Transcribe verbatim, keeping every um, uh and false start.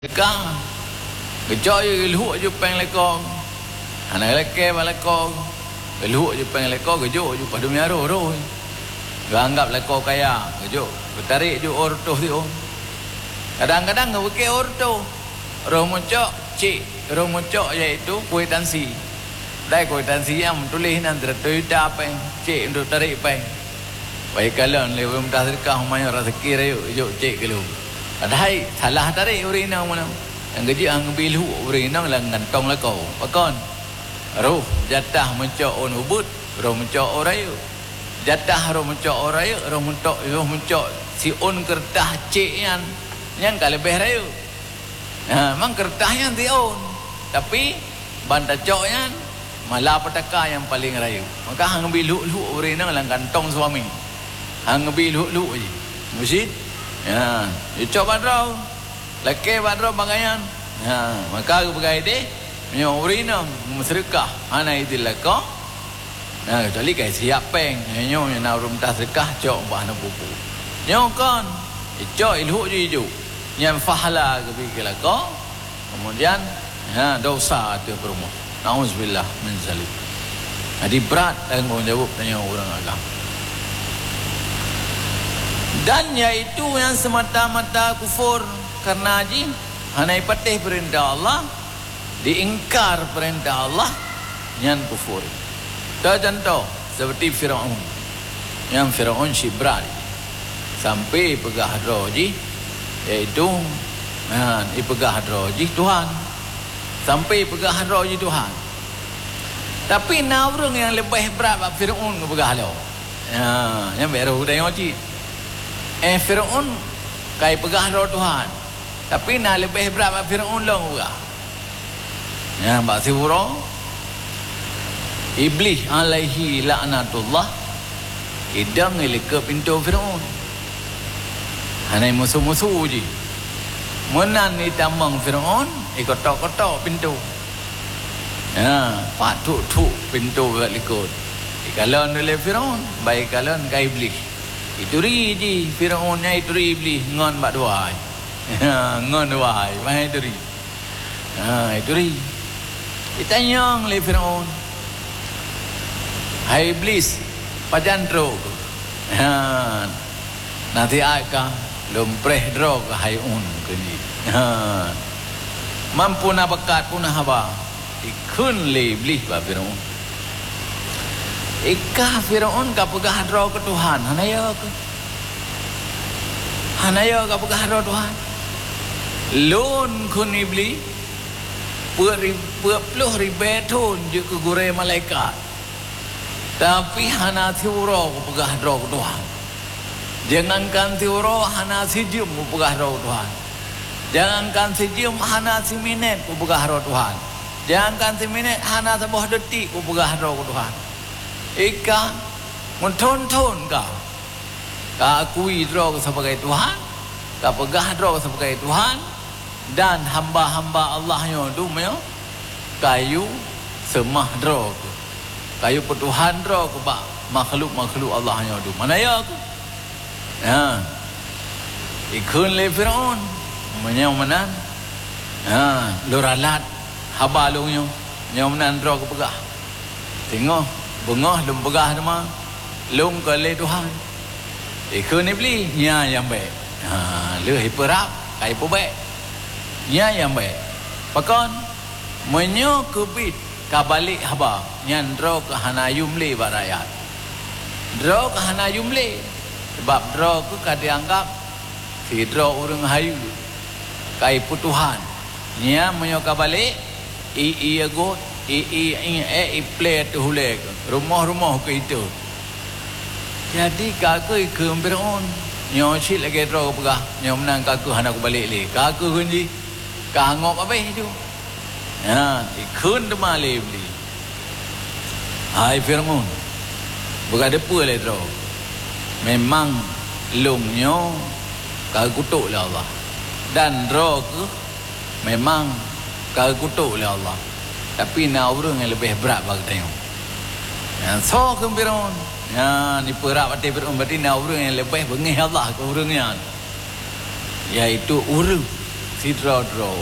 Ka, geucok ju geulhok ju péng lakoe. Hana lakée bak lakoe. Geulhok ju péng lakoe, geujok ju padum nyang rhoi-rhoi. Geuanggab lakoe kaya, geujok, geutarek ju ôh reutôh siôn. Kadang-kadang geupike ôh reutôh. Roh meucok, cek, roh meucok yaitu kwitansi. Dai kwitansi nyang meutuléh nan seratus juta péng, cek untuk tarek péng. Bak ikalon lé ureuëng meutaseudeukah, meunyoe raseuki rayeuk jok cek keu lôn. Padahai salah tarek ureuëng inong meunan. Nyang geujeuet han geubi lhok ureuëng inong lam kantong lakoe. Pakon? Roh jatah meucok ôn ubeut, roh meucok ôn rayeuk. Jatah roh meucok ôn rayeuk, roh meucok, roh meucok siôn keureutah cek nyan, nyan ka leubeh rayeuk. Ha, memang keureutah nyan siôn. Tapi, ban tacok nyan, mala peutaka nyang paleng rayeuk. Maka han geubi lhok-lhok ureuëng inong lam kantong suami. Han geubi lhok-lhok jih. Meusit? Ha, geucok bak droe. Lakée bak droe bak gobnyan. Ha, maka geupeugah idéh, meunyoe ureuëng inong meuseudeukah hana idin lakoe, na, kecuali ka siap péng. Nyoe, nyoe na ureuëng meutaseudeukah cok bak hana peue-peue. Nyoe kon, icok ilhok ju ijok. Nyan pahala geubi keu lakoe, kemudian, ha, dosa ateueh peurumoh. Nauzubillah min zalik. Jadi brat tanggong jaweueb tanyoe ureuëng agam. Dan yaitu nyang seumata-mata kufur, karena jih hana ipatéh peurintah Allah, diingkar peurintah Allah, nyan kufur. Contoh, seperti Firaun. Nyang Firaun cit brat. Sampai peugah droe jih, yaitu, ha, ipeugah droe jih Tuhan. Sampai peugah droe jih Tuhan. Tapi na ureuëng nyang leubeh brat bak Firaun geupeugah lom. Ha, nyan bèk roh tanyoe cit. Eh, Firaun ka ipeugah droe Tuhan. Tapi na leubeh brat bak Firaun lom geupeugah. Nyan bak siuroe, Iblih alaihi laknatullah, idong ilikot pintoe Firaun. Hana musu-musu jih. Meunan itamong Firaun, ikotok-kotok pintoe. Ha, pat thuk-thuk pintoe bak likot. Ikalon lé Firaun, ban ikalon ka Iblih. Ituri jih Firaun nyan, ituri Iblih ngon bak dua hai. Ha, ngon dua hai, ban ituri. Ha, ituri. Itanyong lé Firaun, "Hai Iblih, pajan trok?" Ha, "Nasihat ka, lôn preh droe keuh hai ôn," kheun jih. Ha. "Man peue na bakat, peue na haba?" Ikheun lé Iblih bak Firaun. Ika Firaun ka peugah droe keu Tuhan, hana yo keuh? Hana yo ka peugah droe Tuhan? Lôn kheun Iblih, peuet ri-, peuet ploh ribèe thon jeuet keu gurèe malaikat. Tapi hana siuroe kupeugah droe keu Tuhan. Jangankan siuroe, hana sijeuem kupeugah droe keu Tuhan. Jangankan sijeuem, hana siminét kupeugah droe Tuhan. Jangankan siminét, hana saboh detik kupeugah droe keu Tuhan. Ika meuthon-thon ka, ka akui droe keuh sebagai Tuhan, ka peugah droe keuh sebagai Tuhan, dan hamba-hamba Allah nyoe dum nyoe kayue seumah droe keuh, kayue peutuhan droe keuh bak makhluk-makhluk Allah nyoe dum. Mana ya keuh? Ha. Ikheun lé Firaun, "Meunyoe meunan, ha, lôn ralat haba lôn nyoe, nyoe meunan droe keuh peugah. Singoh beungoh lôn peugah teuma, lôn kon lé Tuhan." Ikheun Iblih, "Nyan nyang bèk." Ha, lheueh ipeurab, ka ipeubèk. "Nyan nyang bèk." Pakon? Meunyoe keubiet ka balek haba, nyan droe keuh hana yum lé bak rakyat. Droe keuh hana yum lé, sabab droe keuh ka jianggab sidroe ureuëng hayeue, ka ipeutuhan. Nyan meunyoe ka balek, i-i agot, i-i iék, iplé ateueh ulèe keuh, rumoh-rumoh keuh itôt. Jadi ka keuh ikheun Firaun, "Nyoe cit lagèe droe keuh peugah, nyoe meunan ka keuh hana kubalek lé." Ka keuh kheun jih, ka ngop abéh ju. Ha, ikheun teuma lé Iblih, "Hai Firaun, beugadeupeue lé droe, memang lôn nyoe ka geukutok lé Allah, dan droe keuh memang ka geukutok lé Allah, tapi na ureuëng nyang leubeh brat bak geutanyoe." Nyan soe kheun Firaun? Nyan ipeurab até Firaun, berarti na ureuëng nyang leubeh beungéh Allah keu ureuëng nyan, yaitu ureuëng Sidroe-droe